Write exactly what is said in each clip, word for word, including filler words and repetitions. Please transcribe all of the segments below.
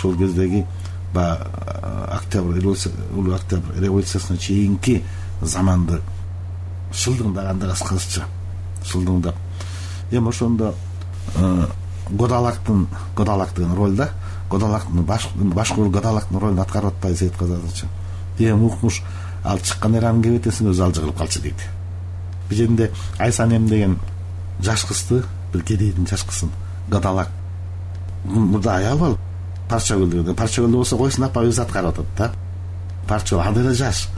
ошол кездеги баягы октябрь улуу октябрь революциясына чейинки заманды шылдыңдап анда кыскача шылдыңдап эми ошондо Годалактын Годалак деген роль да Годалактын башкул Годалактын ролун аткарып атпайбы Сейитказы Атачы. Эми укмуш ал чыккан эраны кебетесиң өзү ал жыгылып калчу дейт. Бул жерде Айсанем деген жаш кызды, бир кедейдин жаш кызын Годалак мурда аял бол Парчагүл деген. Парчагүл болсо койсун апа өзү аткарып атат да. Парча анда эле жаш.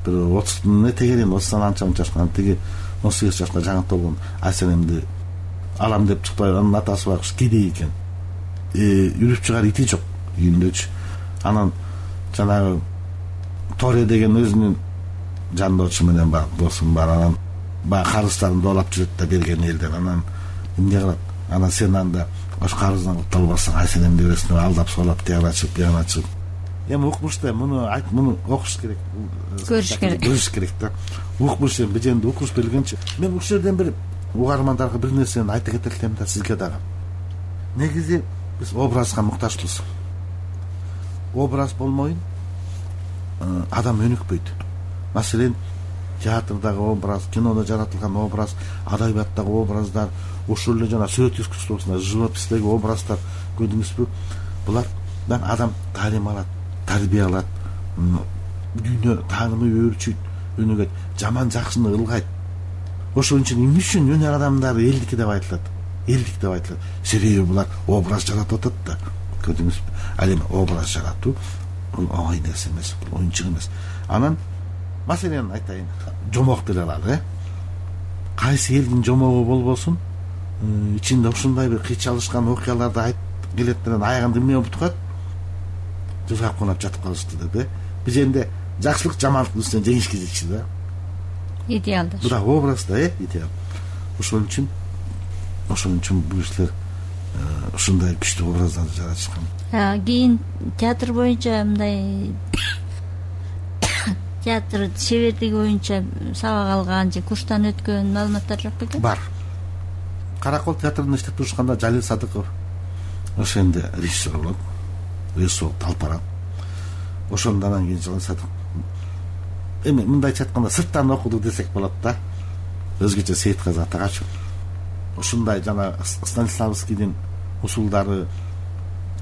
Бир отуздун этегерин отуздан анча мынча жашкан, тиги он сегиз жашка жаңы толгон Айсанемди алам деп чыкпай, анын атасы байкуш кедей экен. Үрүп чыгар ити жок үйүндөчү. Анан жанагы Торе деген өзүнүн жандоочу менен бар досум бар, анан баягы карыздарын доолап жүрөт да берген элден. Анан эмне кылат? Анан сен анда ош карыздан кутталбасаң Айсанемди бересиң деп алдап соолап тияна чыгып тияна чыгып. Эми укмушта муну айт, муну окуш керек, көрүш керек, көрүш керек да. Укмуш эми беженди укуш белгенчи. Мен ушул жерден бир угармандарга бир нерсени айта кетет элем да сизге дагы. Негизи биз образга муктажбыз. Образ болмойун адам өнүкпөйт. Маселен, театрдагы образ, кинодо жаратылган образ, адабияттагы образдар, ошол эле жана сүрөт искусствосунда живопистеги образдар көрдүңүзбү? Булардан адам таалим алат, тарбия алат, дүйнө таанымы өөрчүйт, өнүгөт, жаман жакшыны ылгайт. Ошон үчүн эмне үчүн өнөр адамдары элдики деп айтылат? Элдик деп айтылат. Себеби булар образ жаратып атат да. Көрдүңүзбү? Ал эми образ жаратуу бул оңой нерсе эмес, бул оюнчук эмес. Анан маселен айтайын, жомок деле алалы, э? Кайсы элдин жомогу болбосун, ичинде ушундай бир кыйчалышкан окуяларды айтып келет менен аягында эмне болуп турат? Жылгап конуп жатып калышты деп, э? Бул жерде жакшылык жамандыктын үстүнөн жеңишке жетчү да. Идеалдаш. Бул да образ да, э? Идеал. Ошол үчүн ошол үчүн бул кишилер ушундай күчтүү образдарды жаратышкан. Кийин театр боюнча мындай театр шеберлиги боюнча сабак алган же курстан өткөн маалыматтар жок бекен? Бар. Каракол театрында иштеп турушканда Жалил Садыков ошенде режиссер болот. Режиссер Талпара. Ошондон анан кийин Садыков. Эми мындайча айтканда сырттан окуду десек болот да. Өзгөчө Сейитказы Атагачы. Ушундай жана Станиславскийдин усулдары,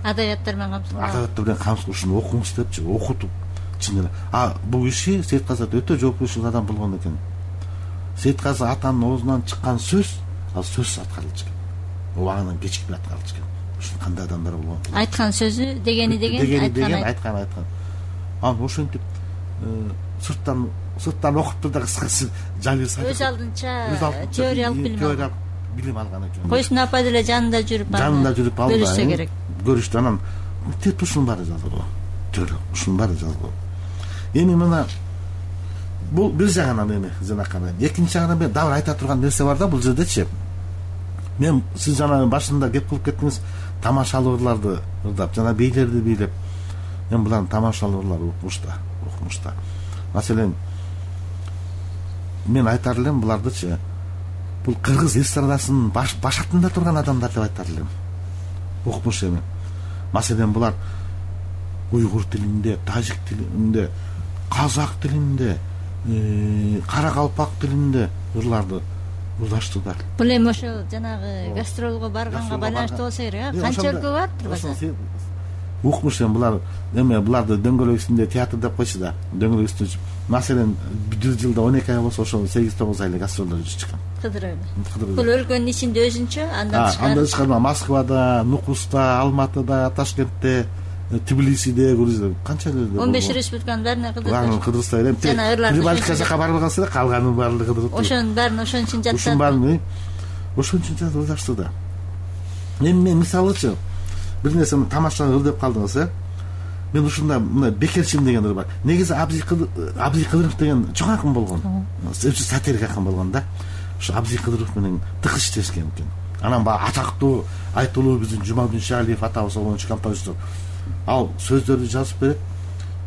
адабияттар менен камсыз. Адабияттар менен камсыз ушуну окуңуз депчи, окутуп чын эле. А бул киши Сейитказы өтө жоопкерчилик адам болгон экен. Сейитказы Атанын оозунан чыккан сөз, ал сөз аткарылчу экен. Убагынан кечикпей аткарылчу экен. Ушун кандай адамдар болгон. Айткан сөзү дегени деген, айткан айткан айткан. Анан ошентип сырттан сырттан окуп турду да кыскасы Жалил Садыков өз алдынча теориялык билим алган. Билим алган экен. Койсун апа деле жанында жүрүп алды. Жанында жүрүп алды. Көрүшсө керек. Көрүштү, анан теп ушунун баары жазылган. Теория, ушунун баары жазылган. Эми мына бул бир жагынан эми жанаканы. Экинчи жагынан мен дагы айта турган нерсе бар да бул жердечи. Мен сиз жана башында кеп кылып кеттиңиз, тамашалууларды ырдап, жана бийлерди бийлеп. Мен булардын тамашалуулары укмушта, укмушта. Маселен, мен айтар элем булардычы, бул кыргыз эстрадасынын баш башатында турган адамдар деп айтар элем. Укмуш эми. Маселен, булар уйгур тилинде, тажик тилинде, казак тилинде, каракалпак тилинде ырларды ырдаштыдар. Бул эми ошо жанагы гастролго барганга байланыштуу болсо керек, а? Канча өлкө бар турбаса? Укмуш эми булар эме буларды дөңгөлөк үстүндө театр деп койчу да. Дөңгөлөк үстүндө маселен бир жылда он эки ай болсо ошо сегиз тогуз айлык гастролдор жүрүп чыккан. Кыдырып. Бул өлкөнүн ичинде өзүнчө, андан тышкары. Андан тышкары Москвада, Нукуста, Алматыда, Ташкентте, Тбилисиде, Грузияда канча эле. он беш республиканын баарына кыдырып. Баарын кыдырса элем. Прибалтика жака барылган сыйра калганын баарын кыдырып. Ошонун баарын ошон үчүн жатат. Ошонун баарын ошон үчүн жазылышты да. Эми мен мисалычы бир нерсени тамашалап ыр деп калдыңыз, э? Мен ушундай мына Бекерчим деген ыр бар. Негизи Абзий Кыдыров деген чоң акын болгон. Өчү сатирик акын болгон да. Ушу Абзий Кыдыров менен тыгыз иштешкен экен. Анан баягы атактуу айтылуу биздин Жумабүдүн Шаалиев атабыз болчу композитор. Ал сөздөрдү жазып берет.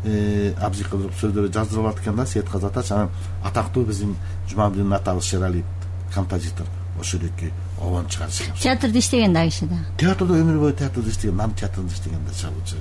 Э, Абзий Кыдыров сөздөрдү жаздырып алат экен да, Сейитказы Атач. Анан атактуу биздин Жумабүдүн атабыз Шералиев композитор. Ошол эки обон чыгарышкан. Театрда иштеген да киши да. Театрда өмүр бою театрда иштеген, нам театрында иштеген да чабуулчу.